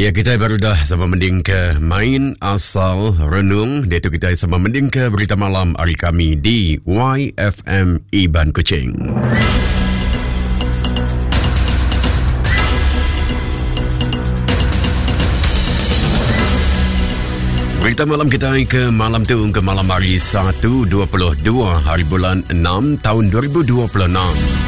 Ya kita baru dah sama mending ke main asal renung. Dia tu kita sama mending ke berita malam hari kami di YFM Iban Kuching. Berita malam kita ke malam tu ke malam hari 1.22 hari bulan 6 tahun 2026.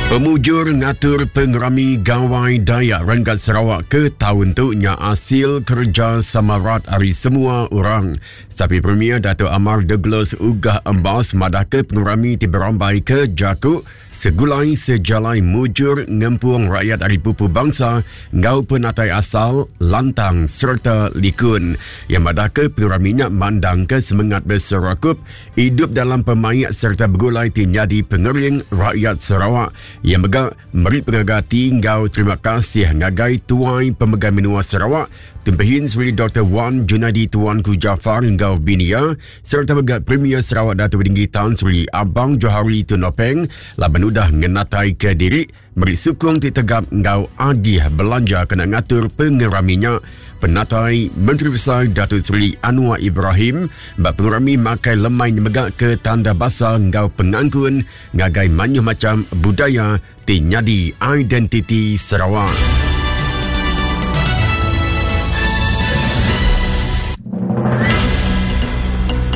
Pemujur ngatur pengerami Gawai Dayak Renggat Sarawak ke tahun tu nya asil kerja sama rat ari semua orang. Sapi Premier Dato Amar Douglas Uggah Embas madah ke pengerami ti berambai ke jaku Segulai sejalai mujur ngempung rakyat ari pupu bangsa enggau penatai asal, lantang sereta likun. Iya madahka pengerami nya mandangka semengat beserakup, idup dalam pemaik sereta begulai ti nyadi pengering rakyat Sarawak. Iya mega meri pengaga ati enggau terima kasih ngagai Tuai Pemegai Menua Sarawak, Tun Pehin Sri Doktor Wan Junaidi Tuanku Jaafar enggau bini iya, sereta mega Premier Sarawak Datuk Tinggi Tan Sri Abang Johari Tun Openg laban udah ngenataika diri meri sukung ti tegap enggau agih belanja kena ngatur pengerami nya. Penatai Menteri Besai Datuk Seri Anwar Ibrahim ba pengerami makai lemai nya mega ke tanda basa enggau pengangkun ngagai mayuh macham budaya ti nyadi identiti Sarawak.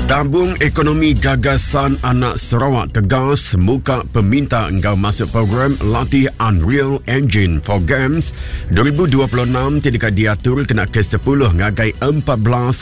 Tabung Ekonomi Gagasan Anak Sarawak tegas muka peminta enggau masuk program latih Unreal Engine for Games 2026 ti deka diatur kena ke 10 ngagai 14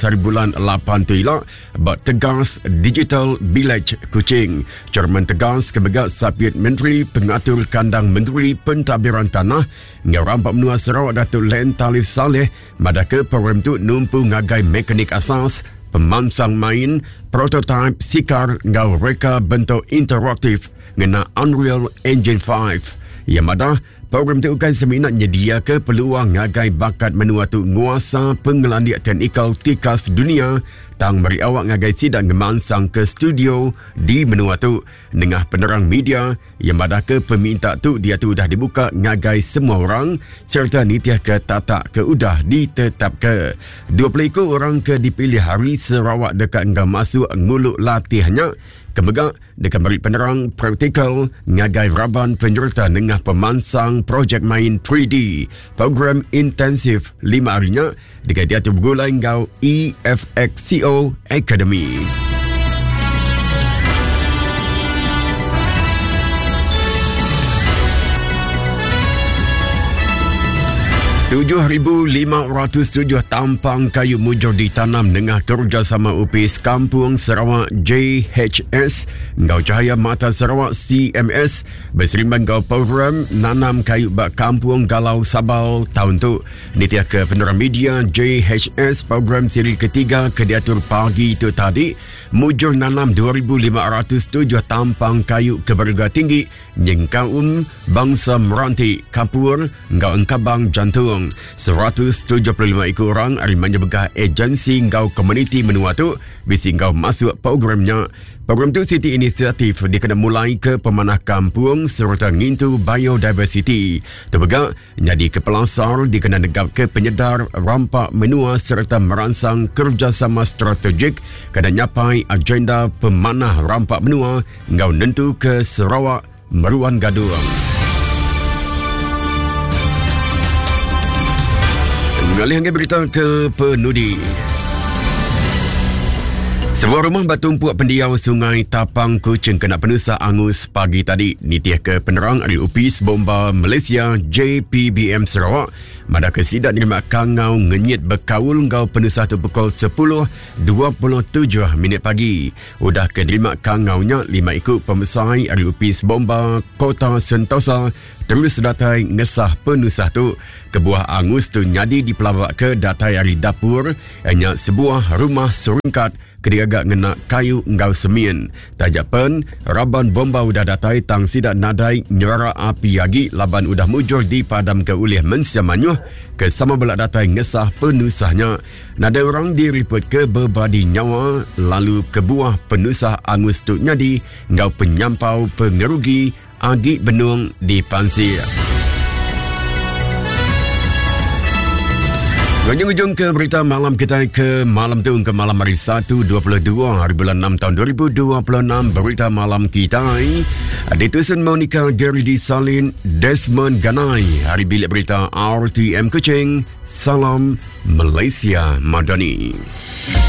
hari bulan 8 tu ila Ba Tegas Digital Village Kuching, Chairman Tegas ke mega Sapit Menteri Pengatur Kandang Menteri Pentadbiran Tanah enggau Rampa Menua Sarawak Datuk Len Talif Salleh madahka program tu numpu ngagai mekanik asas, pemansang main, prototaip sikar enggau reka bentuk interaktif ngena Unreal Engine 5. Iya madah, Program tu ukai semina nyediaka peluang ngagai bakat menua tu nguasa pengelandik teknikal tikas dunia tang meri awak ngagai sida ngemansangka studio di menua tu. Nengah penerang media, iya madahka peminta tu diatu udah dibuka ngagai semua orang sereta nitihka tatak ke udah ditetapka. 20 iku orang ke dipilih ari Sarawak deka enggau masuk ngulu latih nya ke mega deka meri penerang praktikal ngagai raban penyereta nengah pemansang projek main 3D program intensif lima hari nya deka diatur begulai enggau EFXCO Academy. 7,507 tampang kayu mujur ditanam nengah kerjasama Upis Kampung Sarawak JHS enggau Cahaya Mata Sarawak CMS beserimban enggau program nanam kayu ba Kampung Galau Sabal taun tu. Nitih ke penerang media JHS program siri ketiga ke diatur pagi tu tadi mujur nanam 2,507 tampang kayu ke berega tinggi nyengkaum bangsa Meranti, Kapur enggau Engkabang Jantung. 175 iku orang ari menyebegah agensi enggau komuniti menua tu bisi enggau masuk program nya. Program tu siti inisiatif dikena mulai ke pemanah kampung sereta ngintu biodiversiti. Tu mega nyadi ke pelasar dikena negapka penyedar rampa menua sereta meransang kerejasama strategik kena nyapai agenda pemanah rampa menua enggau nentuka Sarawak meruan gadung. Ngalih ngagai berita ke penudi. Sebuah rumah batumpuk pendiau Sungai Tapang Kuching kena penusah angus pagi tadi. Nitih ke penerang ari Opis Bomba Malaysia JPBM Sarawak, madah ke sida nerima kangau ngenyit bekaul enggau penusah tu pukul 10.27 minit pagi. Udah ke nerima kangau nya, lima iku pemesai ari Opis Bomba Kota Sentosa. terus datai ngesah penusah tu. Kebuah angus tu nyadi dipelabaka datai ari dapur nya sebuah rumah serungkat ke digaga ngena kayu enggau semin. Taja pen raban bomba udah datai tang sida nadai nyerara api agi laban udah mujur dipadamka ulih mensia mayuh ke sama bela datai ngesah penusah nya. Nadai orang diripotka bebadi nyawa lalu kebuah penusah angus tu nyadi enggau penyampau pengerugi agi benung dipansik. Ngujung-ujung ke berita malam kita ke malam tu ke malam hari 1 22 hari bulan 6 tahun 2026 berita malam kita ditusun Monica Gary di Salin Desmond Ganai hari bilik berita RTM Kuching Salam Malaysia Madani.